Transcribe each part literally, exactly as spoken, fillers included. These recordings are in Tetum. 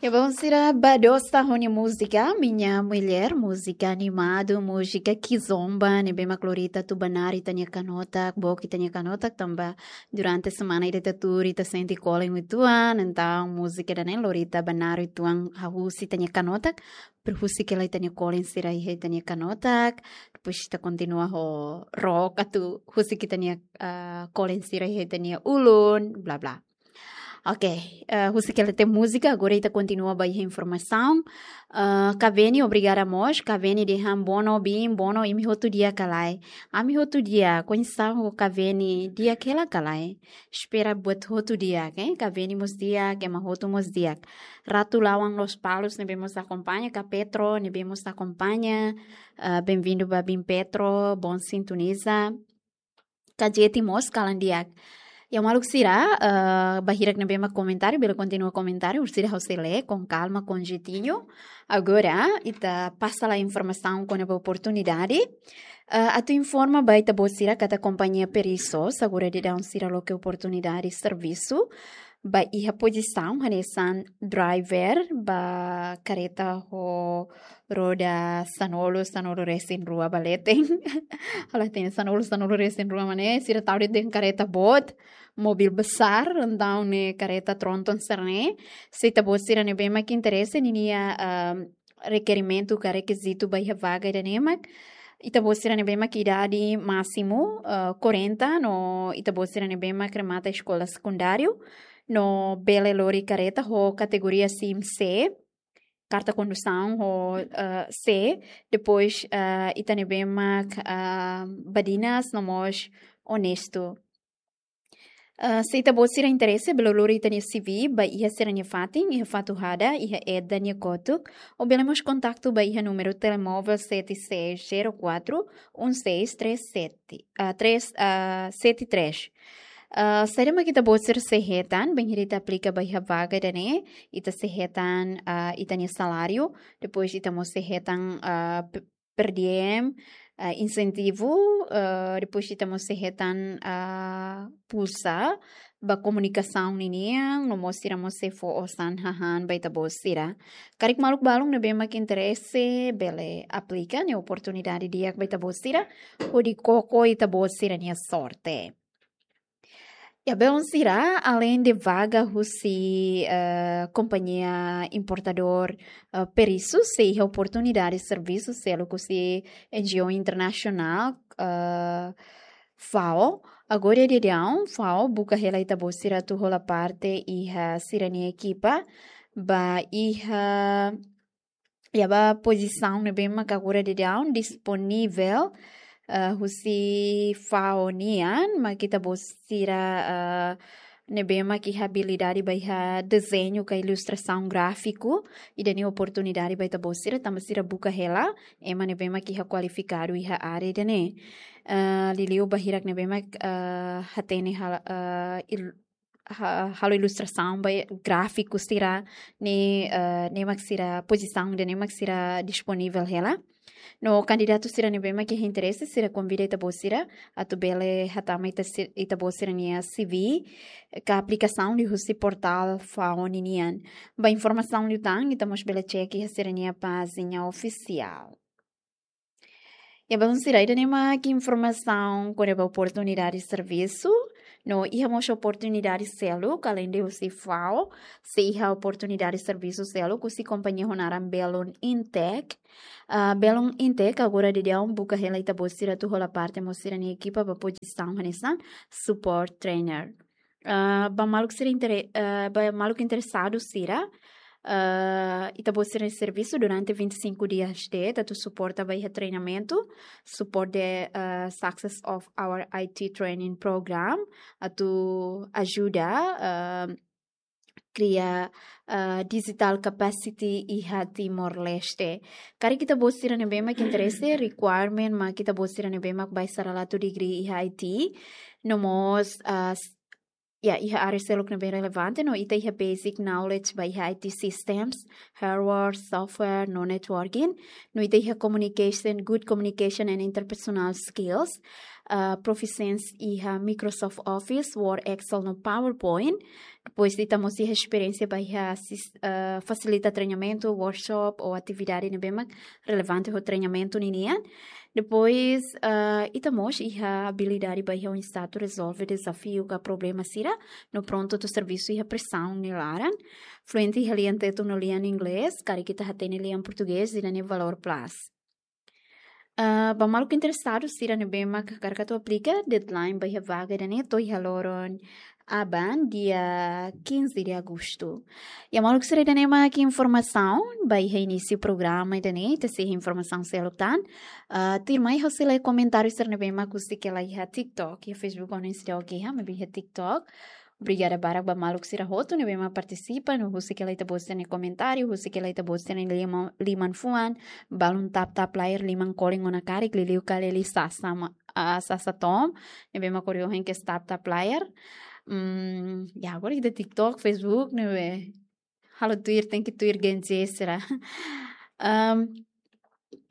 Ya, bom, sira bá dosta ho nia múzika, Minha Mulher, múzika animadu, múzika kizomba, ne'ebé mak lori ita atu banari ita-nia kanotak, book ita-nia kanotak, tanba durante semana ida ita tuur ita sente kolen uitoan, entaun múzika ida-ne'e lori ita banari uitoan, hahú husi ita-nia kanotak, para husik hela ita-nia kolen sira iha ita-nia kanotak, depois ita kontinua ho rock atu husik ita-nia, ah, kolen sira iha ita-nia ulun, bla bla. Oke, eh, husik hela tiha múzika, agora ita kontinua ba iha informasaun. Eh, Kaveni, obrigada mós. Kaveni dehan: "Bono, bin, bono, imi hotu di'ak ka lae?" Ami hotu di'ak, koñesa ho Kaveni, di'ak hela ka lae? Espera buat hotu di'ak, eh? Kaveni mós di'ak, ema hotu mós di'ak. Ratu Lawang Lospalos ne'ebé mós akompaña, ka Petro ne'ebé mós akompaña. Eh, bem-vindo ba bin Petro, bom sintoniza. Kajeti mós kalan di'ak. Ya, maluk sira, eh, ba hirak ne'ebé mak komentáriu, bele kontinua komentáriu, orsida ha'u sei lee com calma, com jeitinho. Agora, ita pasa lai informasaun kona-ba oportunidade. Eh, atu informa ba ita-boot sira katak kompañia Perisos, agora daudaun sira loke oportunidade servisu ba iha pozisaun hanesan driver ba kareta ho roda sanulu, sanulu-resin-rua ba leten. Halo, hatene sanulu, sanulu-resin-rua mak ne'e, sira tau de'it dehan kareta boot, mobil besar, entaun ne'e kareta tronton sira-ne'e. Se ita-boot sira ne'ebé mak interese, ninia, ah, rekerimentu ka rekizitu ba iha vaga ida-ne'e mak: ita-boot sira ne'ebé mak idade másimu, ah, quarenta, no ita-boot sira ne'ebé mak remata eskola sekundáriu, no bele lori kareta ho kategoria sim C, karta kondusaun ho, eh, C, depois, eh, ita ne'ebé mak, ah, badinas no mós onestu. Eh, se ita-boot sira interese, bele lori ita-nia C V ba iha sira-nia fatin, iha Fatuhada, iha Eda nia kotuk, ou bele mós kontaktu ba iha númeru telemóvel sete seis zero quatro um seis três sete, ah, três, ah, sete três. Ah, saida mak ita-boot sira sei hetan bainhira ita aplika ba iha vaga ida-ne'e? Ita sei hetan, ah, ita-nia saláriu, depois ita mós sei hetan, ah, pe-, per diem, ah, insentivu, ah, depois ita mós sei hetan, ah, pulsa ba komunikasaun ninian, no mós sira mós sei fó osan hahán ba ita-boot sira. Karik maluk balun ne'ebé mak interese, bele aplika, ne'e oportunidade di'ak ba ita-boot sira, hodi koko ita-boot sira-nia sorte. Ya, belun sira, aleinde vaga husi, eh, kompañia importadór, eh, Perisus, sei iha oportunidade servisu seluk husi N G O internasionál, eh, FAO. Agora daudaun, FAO buka hela ita-boot sira atu hola parte iha sira-nia ekipa ba iha, ya, ba pozisaun ne'ebé mak agora daudaun disponivel, eh, husi FAO nian, mak ita-boot sira, eh, ne'ebé mak iha abilidade ba iha dezeñu ka ilustrasaun gráfiku, ida-ne'e oportunidade ba ita-boot sira, tanba sira buka hela ema ne'ebé mak iha kualifikadu iha área ida-ne'e. Eh, liuliu ba hirak ne'ebé mak, eh, hatene hal-, eh, il-, ha-, halo ilustrasaun ba gráfiku sira-ne'e, eh, ne'e mak sira pozisaun ida-ne'e mak sira disponivel hela. No kandidatu sira ne'ebé mak iha interese, sira konvida ita-boot sira atu bele hatama ita si-, ita-boot sira-nia C V ka aplikasaun liuhusi portál FAO ninian. Ba informasaun liután, ita mós bele cek iha sira-nia pájina ofisiál. Ya, belun sira, ida-ne'e mak informasaun kona-ba oportunidade servisu. No iha mós oportunidade seluk, aleinde husi FAO, sei iha oportunidade servisu seluk husi kompañia ho naran Belun Intech. Ah, Belun Intech agora daudaun buka hela ita-boot sira atu hola parte mós sira-nia ekipa ba pozisaun hanesan support trainer. Ah, ba maluk sira intere-, ah, ba maluk interesadu sira, ah, ita-boot sira servisu durante vinte e cinco dias de'it, atu suporta ba iha treinamentu, support the, ah, success of our I T training program, atu ajuda, ah, kria, ah, digital capacity iha Timor-Leste. Karik ita-boot sira ne'ebé mak interese, requirement mak ita-boot sira ne'ebé mak baisarawatu degree iha I T, no mós, ah, s-, ya, iha área seluk ne'ebé relevante, no ita iha basic knowledge ba iha I T systems, hardware, software, no networking, no ita iha communication, good communication and interpersonal skills. ah, proficiency iha Microsoft Office, Word, Excel no PowerPoint. Depois ita mós iha esperiénsia ba iha sis-, ah, fasilita treinamentu, workshop ou atividade ne'ebé mak relevante ho treinamentu ninian. Depois, ah, ita mós iha abilidade ba iha oinsá atu rezolve dezafiu ka problema sira no prontu atu servisu iha presaun nia laran. Fluente iha lian tetun no lian inglés, karik ita hatene lian portugés, ida-ne'e valór plus. Ah, ba maluk interesadu sira ne'ebé mak hakarak atu aplika, deadline ba iha vaga ida-ne'e to'o iha loron aban, dia quinze de agosto. Ya maluk sira, ida-ne'e mak informasaun ba iha inísiu programa ida-ne'e, ita sei iha informasaun seluk tan. Ah, tuirmai ha'u sei lee komentáriu sira ne'ebé mak husik hela iha TikTok, iha Facebook ha'u nunka sei lee, oke, ha, maibé iha TikTok. Obrigada barak ba maluk sira hotu ne'ebé mak partisipa, no husik hela ita-boot sira-nia komentáriu, husik hela ita-boot sira-nia liman, liman fuan, balun tap tap layar, liman kolen ona karik, liuliu kali sasa ma-, ah, sasa to'o, ne'ebé mak ohin kedas tap tap layar. Hmm, ya, agora ita TikTok, Facebook, ne'ebé halo tuir, tenke tuir Gen Z sira. Em,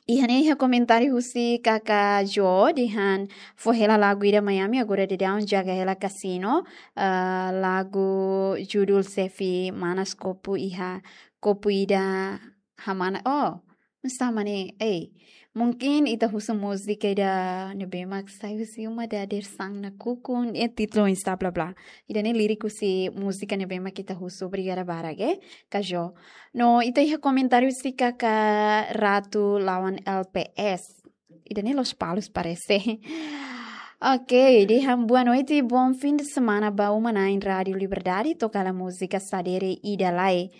iha ne'e iha komentáriu husi Kaka Jo, dehan fó hela lagu ida Miami, agora daudaun jaga hela kasino, ah, lagu judul xefe Manas Kopu iha, kopu ida hamana, oh, nusá mak ne'e, ei, mungkin ita husu múzika ida ne'ebé mak sai husi uma dadeer-saan nakukun, eh, títulu oinsá bla bla. Ida-ne'e líriku husi múzika ne'ebé mak ita husu, obrigada barak, eh, Kaka Jo. No, ita iha komentáriu husi Kaka Ratu Lawan L P S. Ida-ne'e Lospalos parese. Oke, dehan boa noite, bom fim de semana ba uma-na'in Rádio Liberdade, toka hela múzika sadere ida lai.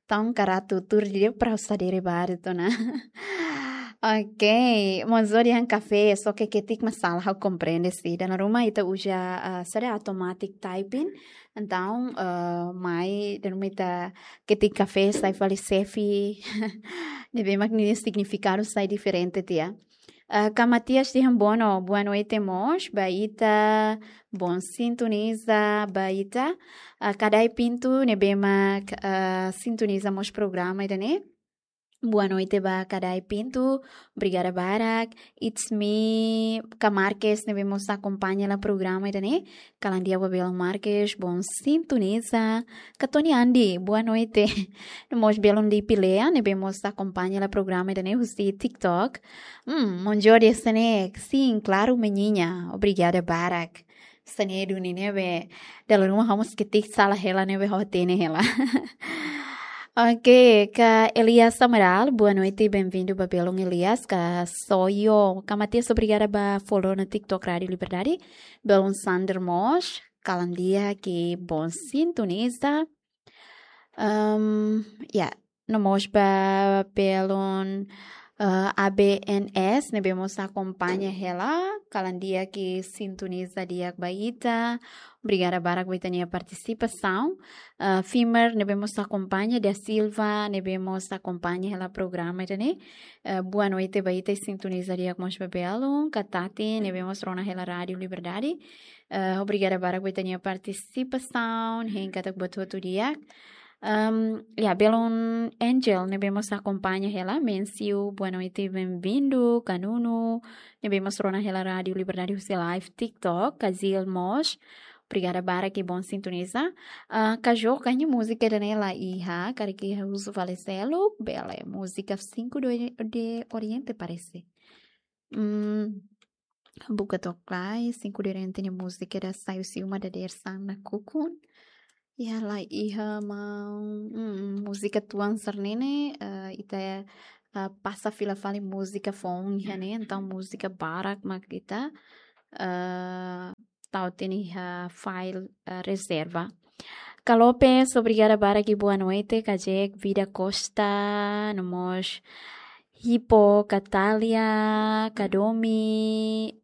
Entaun, Kaka Ratu, tuur didi'ak para sadere baru tu na. Oke, mós dehan kafé, só ke ketik mak sala, ha'u komprende sih. Dala ruma ita uza, ah, saida, automatic typing. Entaun, ah, mai, dala ruma ita ketik kafé, sai fali xefe. Ne'ebé mak nia signifikadu sai diferente tiha. Ah, Kaka Matias dehan boa no-, boa noite mós ba ita, bom sintoniza ba ita. Ah, Kadai Pinto ne'ebé mak, ah, sintoniza mós programa ida-ne'e. Boa noite ba Kadai Pinto, obrigada barak. It's me, Kaka Marques, ne'ebé mós akompaña hela programa ida-ne'e. Kalan di'ak ba belun Marques, bom sintoniza. Kaka Tony Andi, boa noite. No mós belun Lipi Lea, ne'ebé mós akompaña hela programa ida-ne'e husi TikTok. Hmm, Monjodi Senek, sim, claro, menina. Obrigada barak. Sene duni ne'ebé, dala ruma ha'u mós ketik sala hela ne'ebé ha'u hatene hela. Oke, Kaka Elias Amaral, boa noite, bem-vindo ba belun Elias, Kaka Soyo. Kaka Matias, obrigada ba follow ona TikTok Rádio Liberdade. Belun Sander mós, kalan di'ak, bom sintoniza. Ehm, ya, no mós ba belun, eh, A B N S, ne'ebé mós akompaña hela, kalan di'ak, sintoniza di'ak ba ita. Obrigada barak ba ita-nia partisipasaun. Eh, Fimer, ne'ebé mós akompaña, Da Silva, ne'ebé mós akompaña hela programa ida-ne'e. Eh, boa noite ba ita, sintoniza di'ak mós ba belun. Kaka Tati, ne'ebé mós rona hela Rádio Liberdade. Eh, obrigada barak ba ita-nia partisipasaun, hein katak buat hotu di'ak. Ehm, ya, belun Angel, ne'ebé mós akompaña hela, Mensiu, boa noite, bem-vindo, Kaka Nuno, ne'ebé mós rona hela Rádio Liberdade husi live TikTok, Kazil mós, obrigada barak, bom sintoniza. Ah, Kaka Jo, karik múzika ida-ne'e la iha, karik husu fali seluk, bele, múzika Cinco de, de Oriente parese. Hmm, buka to'ok lai, Cinco de Oriente nia múzika ida sai husi uma dadeer-saan nakukun. Ya, la iha maun, mm, múzika tuan sira-ne'e, eh, ita, eh, pasa fila fali múzika foun iha ne'e, entaun múzika barak mak ita, eh, tau tiha ona iha file, eh, rezerva. Kaka Lopes, obrigada barak, boa noite, Kaka Jack, Vida Costa, no mós Hipo, Katalia, Kadomi,